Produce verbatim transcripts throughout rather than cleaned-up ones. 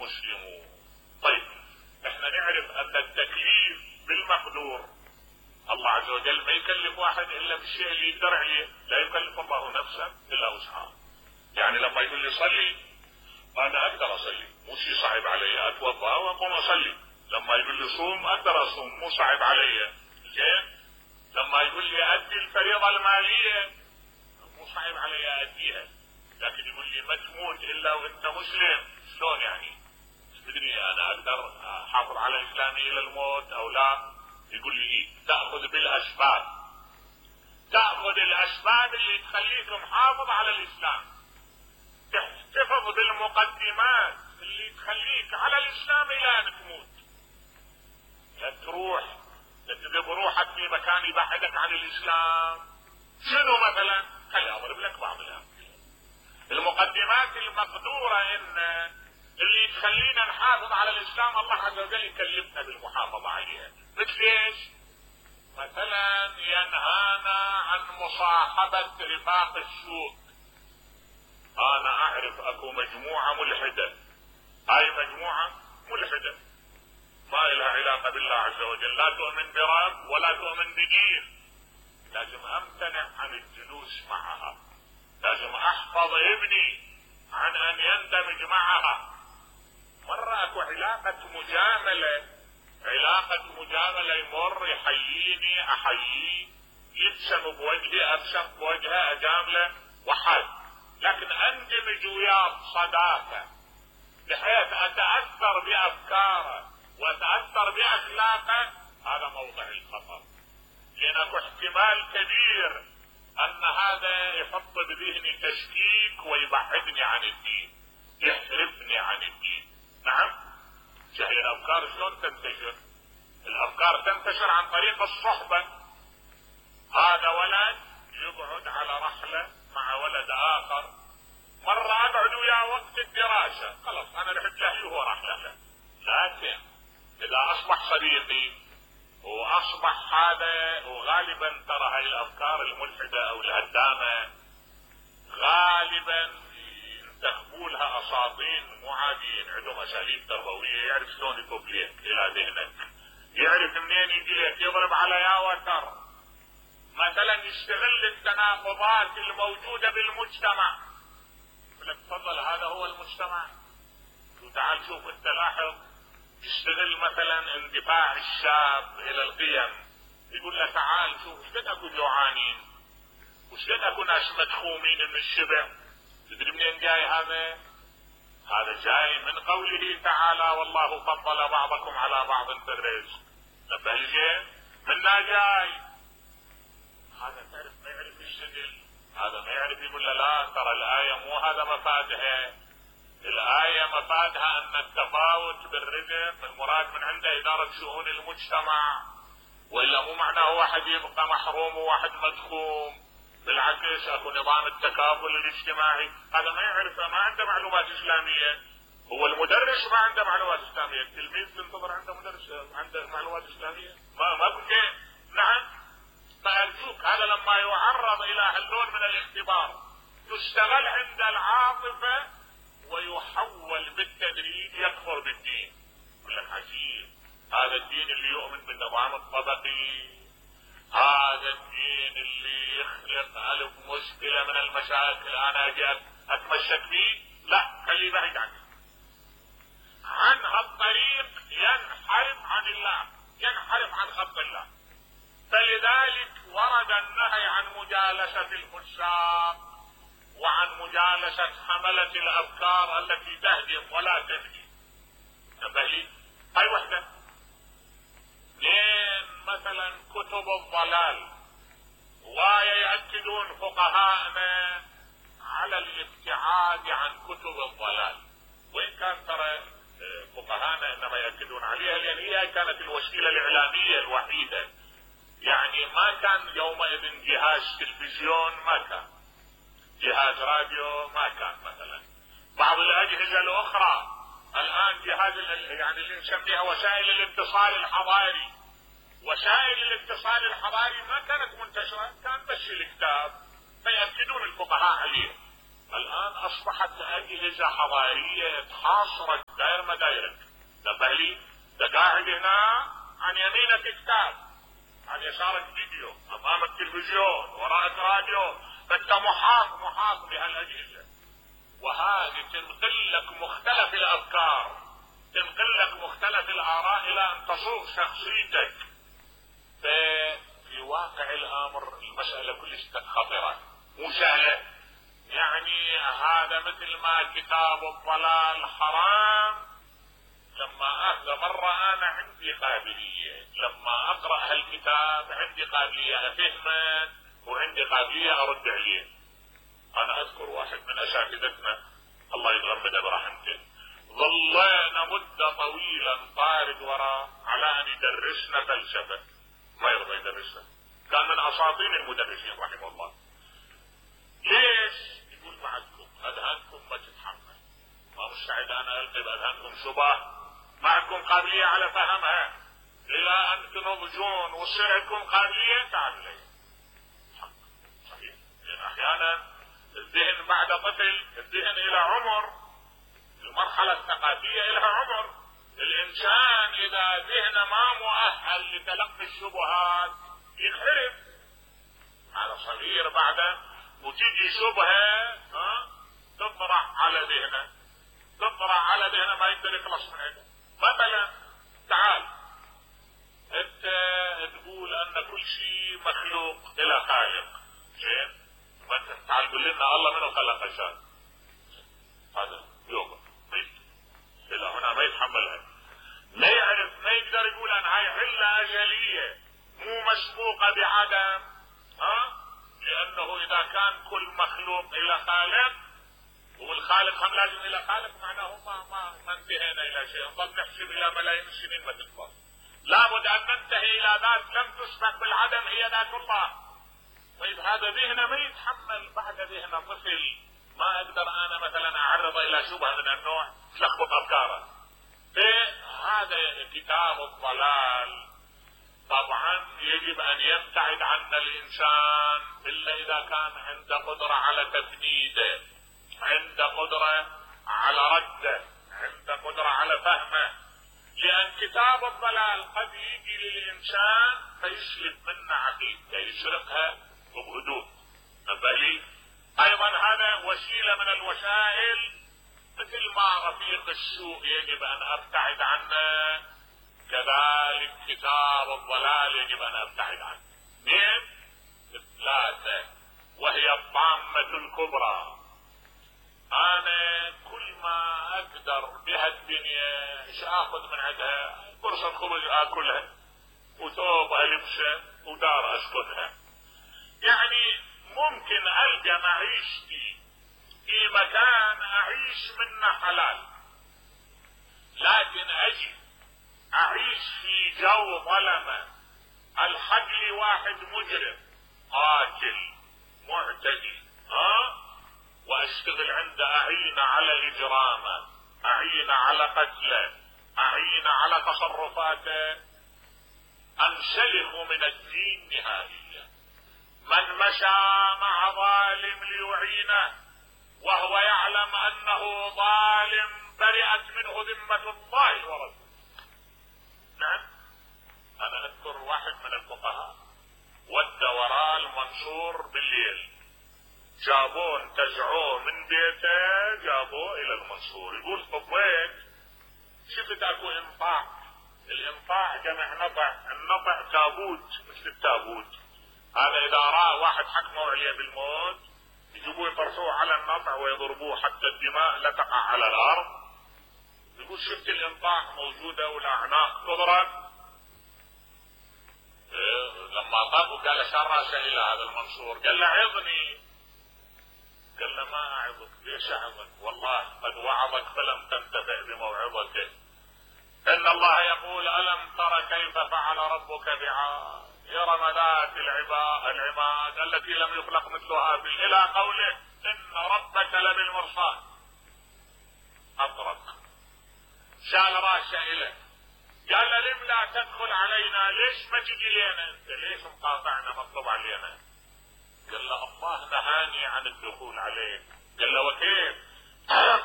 المسلمون. طيب احنا نعرف ان التكليف بالمقدور، الله عز وجل ما يكلف واحد الا بالشيء اللي يقدر عليه، لا يكلف الله نفسا الا وسعها. يعني لما يقول لي صلي انا اقدر اصلي، مو شيء صعب علي، اتوضا واقوم اصلي. لما يقول لي صوم اقدر اصوم، مو صعب علي. زين؟ لما يقول لي ادي الفريضه الماليه مو صعب علي اديها. لكن يقول لي ما تموت الا وانت مسلم، شلون يعني؟ تدري انا اقدر احافظ على اسلامي الى الموت او لا؟ يقول لي إيه؟ تاخذ بالاسباب، تاخذ الاسباب اللي تخليك محافظ على الاسلام، تحتفظ بالمقدمات اللي تخليك على الاسلام الى ان تموت. لا تروح تذهب روحك في مكان يبعدك عن الاسلام. شنو مثلا؟ خلي اضرب لك بعض الامثله. المقدمات المقدوره ان اللي تخلينا نحافظ على الاسلام الله عز وجل يكلفنا بالمحافظه عليها. مثل ايش؟ مثلا ينهانا عن مصاحبه رفاق السوء. انا اعرف اكو مجموعه ملحده، هاي مجموعه ملحده ما لها علاقه بالله عز وجل، لا تؤمن برب ولا تؤمن بدين. لازم امتنع عن الجلوس معها، لازم احفظ ابني عن ان يندمج معها. مرة اكو علاقة مجاملة، علاقة مجاملة يمر يحييني احييه، يبسم بوجهي ابسم بوجهه اجامله وحل. لكن اندمج وياه صداقة بحيث اتأثر بافكاره واتأثر باخلاقه، هذا موضع الخطر. لان اكو احتمال كبير ان هذا يحط بذهني تشكيك ويبعدني عن الدين، يحرفني عن الدين. نعم، هي الافكار شلون تنتشر؟ الافكار تنتشر عن طريق الصحبة. هذا ولد يقعد على رحلة مع ولد اخر، مرة اقعد وياه وقت الدراسة، خلاص انا رحت له وهو راح له. لكن اذا اصبح صديقي واصبح هذا، وغالبا ترى هاي الافكار الملحدة او الهدامة غالبا تخبولها اساطين مو عاديين، عندهم اساليب تربوية، يعرف شلون يطب لك الى ذهنك، يعرف منين يجي لك، يضرب على يا وتر. مثلا يستغل التناقضات الموجودة بالمجتمع، يقول لك تفضل هذا هو المجتمع، وتعال شوف انت لاحظ. يستغل مثلا اندفاع الشاب الى القيم، يقول له تعال شوف ايش قد اكو جوعانين، وش قد اكو ناس مدخومين من الشبع. تدري منين جاي هذا؟ هذا جاي من قوله تعالى والله فضل بعضكم على بعض في الرزق. نبه لي منا جاي. هذا تعرف ما يعرف يشتغل، هذا ما يعرف يقول له لا ترى الآية مو هذا مفادها. الآية مفادها أن التفاوت بالرزق المراد من عنده إدارة شؤون المجتمع، وإلا مو معناه واحد يبقى محروم وواحد مدخوم. بالعكس اكو نظام التكافل الاجتماعي. هذا ما يعرفه، ما عنده معلومات اسلاميه. هو المدرس ما عنده معلومات اسلاميه، التلميذ تنتظر عنده مدرس عنده معلومات اسلاميه؟ ما ما بكي. نعم، فارجوك هذا لما يعرض الى هالنوع من الاختبار يشتغل عند العاطفه ويحول بالتدريج يكفر بالدين. يقول لك عجيب، هذا الدين اللي يؤمن بالنظام الطبقي، هذا الدين اللي يخلق ألف مشكلة من المشاكل انا اجي اتمشك فيه، لا خليه بعيد عنه. عن هالطريق ينحرف عن الله، ينحرف عن خط الله. فلذلك ورد النهي عن مجالسة الفساق وعن مجالسة حملة الافكار التي تهدم ولا تبني. تبهي هاي وحدة. لين مثلا كتب الضلال، ويأكدون فقهاءنا على الابتعاد عن كتب الضلال، وإن كان ترى فقهاءنا إنما يأكدون عليها لأن هي كانت الوسيلة الإعلامية الوحيدة. يعني ما كان يومئذ جهاز تلفزيون، ما كان جهاز راديو، ما كان مثلا بعض الأجهزة الأخرى. الآن جهاز يعني اللي نسميها وسائل الاتصال الحضاري، وسائل الاتصال الحضاري ما كانت منتشرة، كان بس الكتاب فيأكدون الفقهاء عليه. الآن أصبحت أجهزة حضارية تحاصرت داير ما دايرك. نبه لي ده قاعد هنا عن يمينك كتاب، عن يسارك فيديو، امامك تلفزيون، وراءك راديو، فانت محاط محاط بهالاجهزه. وهذه تنقل لك مختلف الافكار، تنقل لك مختلف الاراء الى ان تصوغ شخصيتك. في واقع الامر المساله كلش خطره مو سهله. يعني هذا مثل ما كتاب الضلال حرام، لما اخذ مرة انا عندي قابلية لما اقرأ هالكتاب عندي قابلية افهمه وعندي قابلية ارد عليه. انا اذكر واحد من اساتذتنا الله يتغمده برحمته، ظلينا مدة طويلة طارد وراه على ان يدرسنا فلسفة، ما يرضى يدرسنا، كان من اساطين المدرسين رحمه الله. ليش؟ يقول معكم اذهانكم ما تتحمل، ما مستعد انا القي باذهانكم شبه، معكم قابلية على فهمها، الى ان تنضجون وتصير عندكم قابلية تعالوا لي. صحيح، لان احيانا الذهن بعد طفل، الذهن الى عمر، المرحلة الثقافية لها عمر. الانسان اذا ذهنه ما مؤهل لتلقي الشبهات ينحرف. هذا صغير بعده وتيجي شبهة ها تطرح على ذهنه، تطرح على ذهنه ما يقدر يخلص من عنده. مثلا تعال انت تقول ان كل شيء مخلوق الى خالق، زين؟ تعال قول لنا الله منو خلق الشيء؟ هذا يوقف الى هنا ما يتحملها، ما يعرف، ما يقدر يقول ان هاي علة اجلية مو مسبوقة بعدم، ها؟ لانه اذا كان كل مخلوق الى خالق والخالق هم لازم الى خالق، معناه ما ما ما انتهينا الى شيء، نظل نحسب الى ملايين السنين ما تخلص. لابد ان ننتهي الى ذات لم تسبق بالعدم هي ذات الله. طيب هذا ذهنه ما يتحمل، بعد ذهنه طفل ما اقدر انا مثلا اعرضه الى شبهه من النوع تلخبط افكاره. هذا كتاب الضلال طبعا يجب ان يبتعد عنا الانسان الا اذا كان عنده قدرة على تفنيده، عنده قدرة على رده، عنده قدرة على فهمه. لان كتاب الضلال قد يجي للانسان فيسلب منه عقيدته، يسرقها بهدوء. نبالي ايضا هذا وسيلة من الوسائل، مثل ما رفيق السوء يجب ان ابتعد عنه كذلك كتاب الضلال يجب ان ابتعد عنه. اثنين ثلاثة، وهي الطامة الكبرى. انا كل ما اقدر بهالدنيا ايش اخذ من عندها؟ فرصة خبز اكلها، وثوب البسه، ودار اسكنها. يعني ممكن القى معيشتي في مكان اعيش منه حلال، لكن اجي اعيش في جو ظلمة، الحق لي واحد مجرم قاتل معتدي ها واشتغل عنده، اعين على اجرامه، اعين على قتله، اعين على تصرفاته، انسلخ من الدين نهائيا. من مشى مع ظالم ليعينه وهو يعلم انه ظالم برئت منه ذمة الله ورسوله. نعم، انا اذكر واحد من الفقهاء ودى وراء المنصور بالليل، جابوه انتزعوه من بيته جابوه الى المنصور. يقول طبيت شفت اكو انطاع، الانطاع جمع نطع، النطع تابوت مثل التابوت، هذا اذا رأى واحد حكموا عليه بالموت يجيبوه يطرحوه على النطع ويضربوه حتى الدماء لا تقع على الارض. يقول شفت الانطاع موجودة والاعناق تضرب. إيه لما طاقوا قال شار راسه الى هذا المنصور، قال له عظني، قال له ما اعظك. ليش اعظك؟ والله قد وعظك فلم تنتفع بموعظته. ان الله يقول الم تر كيف فعل ربك بعاد إرم ذات العماد التي لم يخلق مثلها في، الى قوله ان ربك لبالمرصاد. اطرق شال راسه اليه، قال له لم لا تدخل علينا؟ ليش ما تجي لنا انت؟ ليش مقاطعنا مطلوب علينا؟ قال له الله نهاني عن الدخول عليك. قال له وكيف؟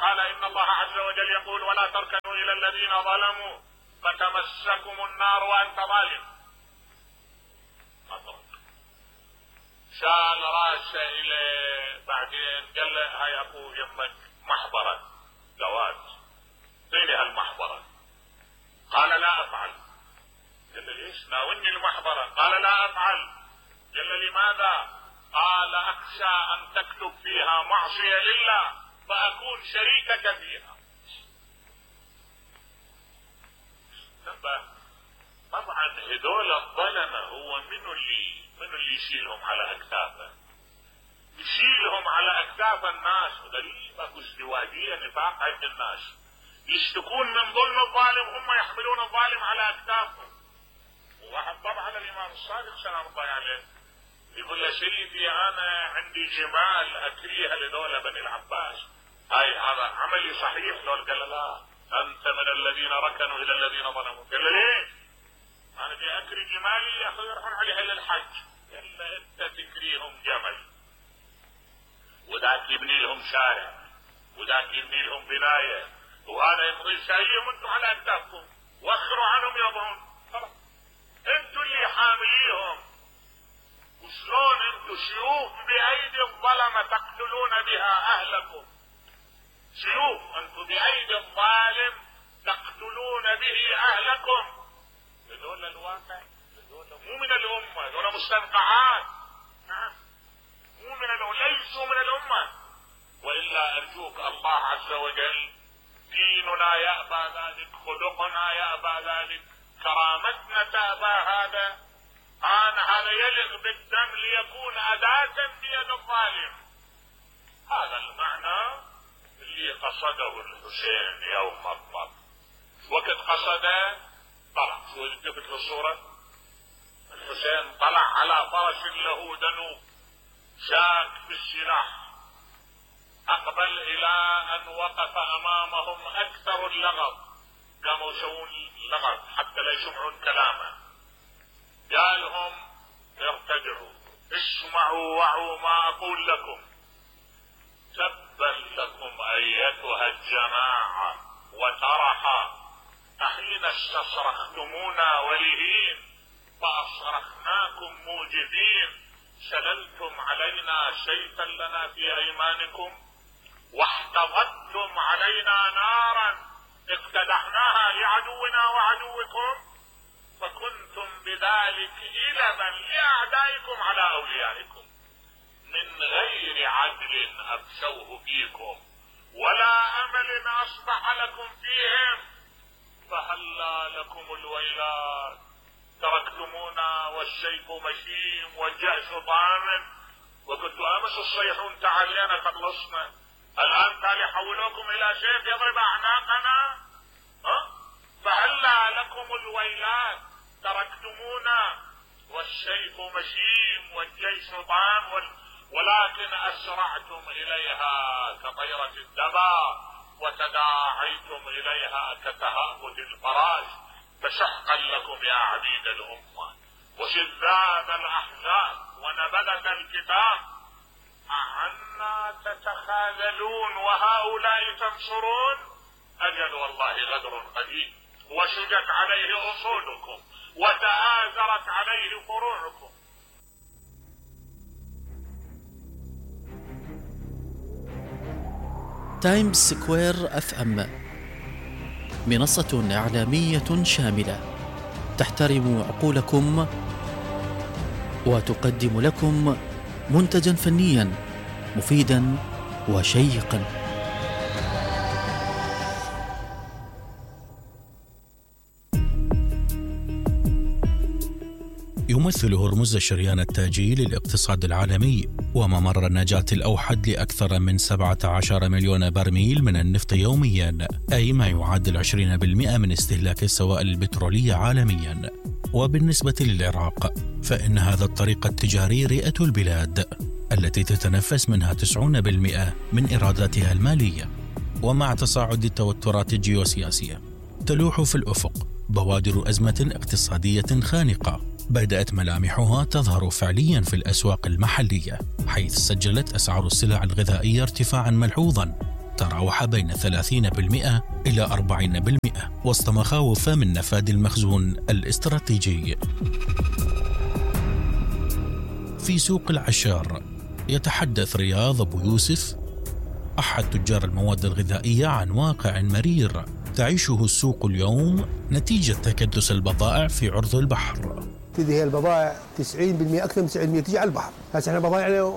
قال إن الله عز وجل يقول ولا تركنوا إلى الذين ظلموا فتمسكم النار وأنت ظالم. شال راسه إلى بعدين قال له هاي أبو يمك محبرة زواج، اعطيني هالمحبرة. قال لا أفعل. قال له ليش؟ ناولني المحبرة. قال لا أفعل. قال له لماذا؟ قال أخشى أن تكتب فيها معصية لله فأكون شريكك فيها. طبعا هذول الظلمة هو منو اللي منو اللي يشيلهم على أكتافه؟ يشيلهم على أكتاف الناس. غريب، اكو ازدواجية نفاق عند الناس، يشتكون من ظلم الظالم، هم يحملون الظالم على أكتافهم. وواحد طبعا الإمام الصادق سلام الله عليه يقول له سيدي أنا عندي جمال أكريها لدولة بني العباس، هاي هذا عملي صحيح؟ لو قال له لا، أنت من الذين ركنوا إلى الذين ظلموا. قال له ليه؟ أنا جاي أكري جمالي يا أخي يروحون عليها للحج. قال له أنت تكريهم جمل، وذاك يبني لهم شارع، وذاك يبني لهم بناية، وأنا يمضي شايهم أنتم على أكتافكم، وأخروا عنهم يضعون. خلاص أنتم اللي حامليهم. وشلون أنتم سيوف بأيدي الظلمة تقتلون بها أهلكم؟ سيوف أنتم بأيدي الظالم تقتلون به أهلكم. هذول الواقع، هذول مو من الأمة، هذول مستنقعات. نعم مو من الأمة، ليسوا من الأمة. وإلا أرجوك الله عز وجل ديننا يأبى ذلك، خلقنا يأبى ذلك، كرامتنا تأبى هذا. آن هذا يلغ بالدم ليكون أداة بيد الظالم. هذا المعنى اللي قصده الحسين يوم الضرب. وقت قصده طلع، شو التفت للصورة؟ الحسين طلع على فرس له دنو شاك بالسلاح، أقبل إلى أن وقف أمامهم أكثر اللغط، قاموا يسوون اللغط حتى لا يسمعون كلامه. قالهم ارتجعوا، اسمعوا وعوا ما أقول لكم، تبا لكم أيتها الجماعة وترحا، أحين استصرختمونا ولهين فأصرخناكم موجدين، سللتم علينا سيفا لنا في أيمانكم، واحتضتم علينا نارا اقتدحناها لعدونا وعدوكم، فكنتم بذلك إلبا لأعدائكم على أوليائكم، من غير عدل أبشوه فيكم ولا أمل أصبح لكم فيهم، فهلا لكم الويلات، تركتمونا والسيف مشيم والجأش ضامن، وكنتم امس تصيحون تعالينا خلصنا، الان تعالي حولوكم الى سيف يضرب اعناقنا. ها؟ فهلا لكم الويلات، تركتمونا والسيف مشيم والجيش ضام، ولكن اسرعتم اليها كطيرة الدبا، وتداعيتم اليها كتهافت الفراش، فشحقا لكم يا عبيد الأمة وشذاذ الأحزاب ونبذة الكتاب، أعنا تتخاذلون وهؤلاء تنصرون؟ أجل والله غدر قديم، وشجت عليه أصولكم وتآزرت عليه فروعكم. تايمز سكوير اف ام منصة إعلامية شاملة تحترم عقولكم وتقدم لكم منتجا فنيا مفيدا وشيقا. يمثل هرمز الشريان التاجي للاقتصاد العالمي وممر النجاة الأوحد لأكثر من سبعة عشر مليون برميل من النفط يوميا، أي ما يعادل عشرين بالمئة من استهلاك السوائل البترولية عالميا. وبالنسبة للعراق فإن هذا الطريق التجاري رئة البلاد التي تتنفس منها تسعين بالمئة من إيراداتها المالية. ومع تصاعد التوترات الجيوسياسية تلوح في الأفق بوادر أزمة اقتصادية خانقة بدأت ملامحها تظهر فعليا في الأسواق المحلية، حيث سجلت أسعار السلع الغذائية ارتفاعا ملحوظا تتراوح بين ثلاثين بالمئة إلى أربعين بالمئة وسط مخاوف من نفاذ المخزون الاستراتيجي. في سوق العشار يتحدث رياض أبو يوسف أحد تجار المواد الغذائية عن واقع مرير تعيشه السوق اليوم نتيجة تكدس البضائع في عرض البحر. تدي هي البضائع تسعين بالمئة أكثر من تسعين بالمئة تجي على البحر. هسه احنا بضائعنا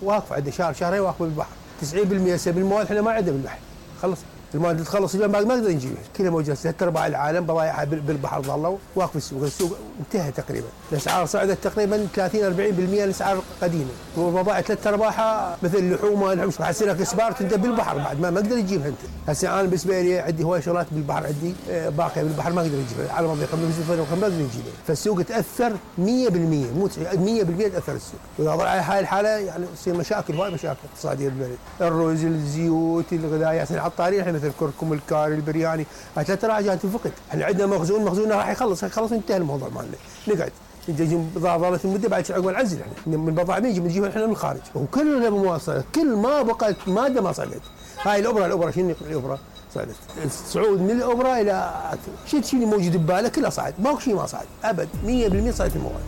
واقفة عندنا شهر شهرين واقفة بالبحر. تسعين بالمئة هسه بالمواد احنا ما عندنا بالبحر. خلص المواد تخلص اليوم بعد ما نقدر نجيبها. كلها موجودة ثلاث أرباع العالم بضائعها بالبحر ظلوا واقف السوق. السوق انتهى تقريبا. الأسعار صعدت تقريبا ثلاثين أربعين بالمئة الأسعار قديمة. والبضائع ثلاث أرباعها مثل اللحوم والحمص حسنا كسبار انت بالبحر بعد ما ما اقدر اجيبها انت. هسه انا بالنسبة لي عندي هواي شغلات بالبحر عندي باقية بالبحر ما اقدر اجيبها على مضيق خمسة ما اقدر نجيبها. فالسوق تأثر مئة بالمئة مو مئة بالمئة تأثر السوق. وإذا ضل على هاي الحالة يعني تصير مشاكل هواي مشاكل اقتصادية بالبلد. الرز الزيوت الغذائيات العطارين احنا مثل كركم الكاري البرياني هاي ثلاث راجعات تنفقد. احنا عندنا مخزون مخزوننا راح يخلص يخلص انتهى الموضوع مالنا. نقعد نجي ظلت المده بعد عقب نعزل احنا من البضائع نجي بنجيبها احنا من الخارج وكلها مواصله كل ما بقت ماده ما صعدت. هاي الابره الابره شنو الابره صعدت الصعود من الابره الى شيء شيء موجود بباله كله صعد ماكو شيء ما صعد ابد مئة بالمئة صعدت المواد.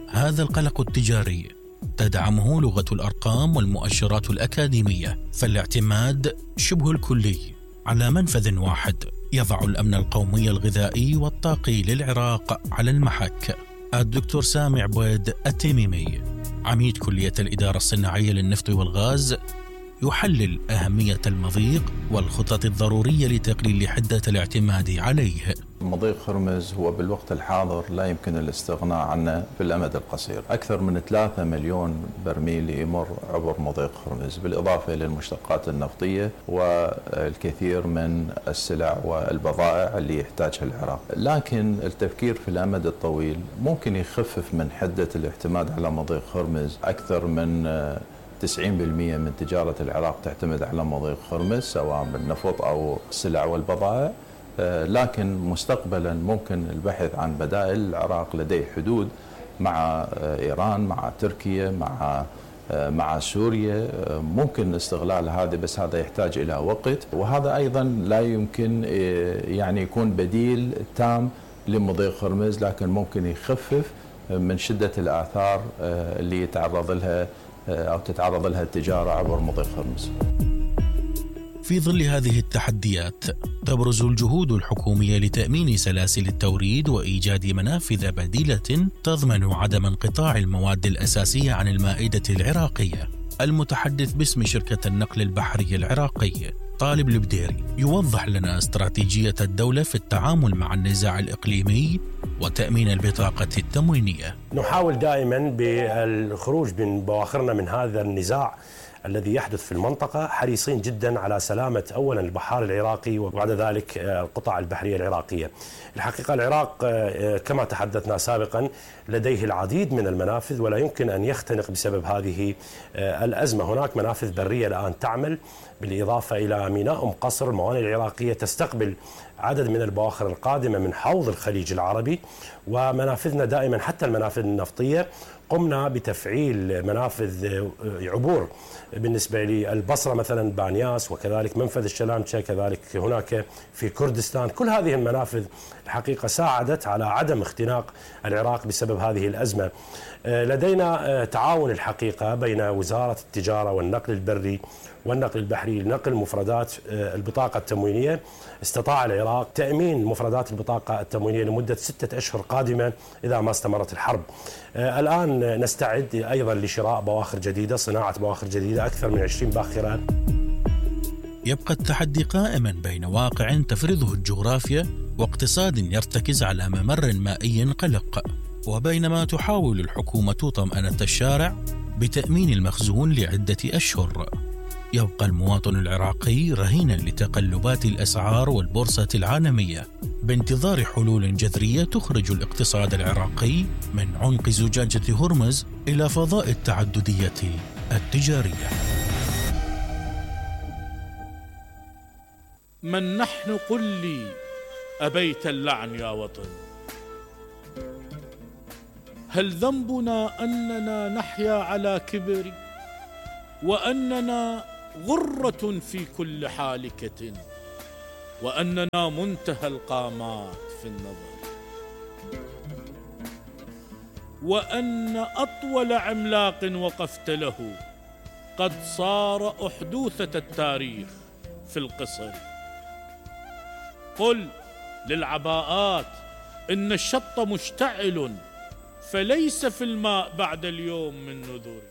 هذا القلق التجاري تدعمه لغه الارقام والمؤشرات الاكاديميه، فالاعتماد شبه الكلي على منفذ واحد يضع الأمن القومي الغذائي والطاقي للعراق على المحك. الدكتور سامي عبيد التميمي عميد كلية الإدارة الصناعية للنفط والغاز يحلل أهمية المضيق والخطط الضرورية لتقليل حدة الاعتماد عليه. مضيق هرمز هو بالوقت الحاضر لا يمكن الاستغناء عنه في الأمد القصير. أكثر من ثلاثة مليون برميل يمر عبر مضيق هرمز بالإضافة إلى المشتقات النفطية والكثير من السلع والبضائع اللي يحتاجها العراق. لكن التفكير في الأمد الطويل ممكن يخفف من حدة الاعتماد على مضيق هرمز. أكثر من تسعين بالمئة من تجارة العراق تعتمد على مضيق هرمز سواء بالنفط أو السلع والبضائع. لكن مستقبلا ممكن البحث عن بدائل. العراق لديه حدود مع إيران مع تركيا مع مع سوريا ممكن استغلال هذا بس هذا يحتاج إلى وقت وهذا أيضا لا يمكن يعني يكون بديل تام لمضيق هرمز لكن ممكن يخفف من شدة الآثار اللي يتعرض لها أو تتعرض لها التجارة عبر مضيق هرمز. في ظل هذه التحديات تبرز الجهود الحكومية لتأمين سلاسل التوريد وإيجاد منافذ بديلة تضمن عدم انقطاع المواد الأساسية عن المائدة العراقية. المتحدث باسم شركة النقل البحري العراقي طالب البديري يوضح لنا استراتيجية الدولة في التعامل مع النزاع الإقليمي وتأمين البطاقة التموينية. نحاول دائما بالخروج من بواخرنا من هذا النزاع الذي يحدث في المنطقة، حريصين جدا على سلامة أولا البحار العراقي وبعد ذلك القطع البحرية العراقية. الحقيقة العراق كما تحدثنا سابقا لديه العديد من المنافذ ولا يمكن أن يختنق بسبب هذه الأزمة. هناك منافذ برية الآن تعمل بالإضافة إلى ميناء أم قصر. الموانئ العراقية تستقبل عدد من البواخر القادمة من حوض الخليج العربي، ومنافذنا دائما حتى المنافذ النفطية قمنا بتفعيل منافذ عبور بالنسبة للبصرة مثلا بانياس، وكذلك منفذ الشلامشة، كذلك هناك في كردستان. كل هذه المنافذ الحقيقة ساعدت على عدم اختناق العراق بسبب هذه الأزمة. لدينا تعاون الحقيقة بين وزارة التجارة والنقل البري والنقل البحري لنقل مفردات البطاقة التموينية. استطاع العراق تأمين مفردات البطاقة التموينية لمدة ستة أشهر قادمة إذا ما استمرت الحرب. الآن نستعد أيضا لشراء بواخر جديدة، صناعة بواخر جديدة، أكثر من عشرين باخرة. يبقى التحدي قائما بين واقع تفرضه الجغرافيا واقتصاد يرتكز على ممر مائي قلق، وبينما تحاول الحكومة طمأنة الشارع بتأمين المخزون لعدة أشهر، يبقى المواطن العراقي رهينا لتقلبات الأسعار والبورصة العالمية بانتظار حلول جذرية تخرج الاقتصاد العراقي من عنق زجاجة هرمز إلى فضاء التعددية التجارية. من نحن قل لي أبيت اللعن يا وطن؟ هل ذنبنا أننا نحيا على كبر وأننا غرة في كل حالكة، وأننا منتهى القامات في النظر، وأن أطول عملاق وقفت له قد صار أحدوثة التاريخ في القصر. قل للعباءات إن الشط مشتعل، فليس في الماء بعد اليوم من نذور.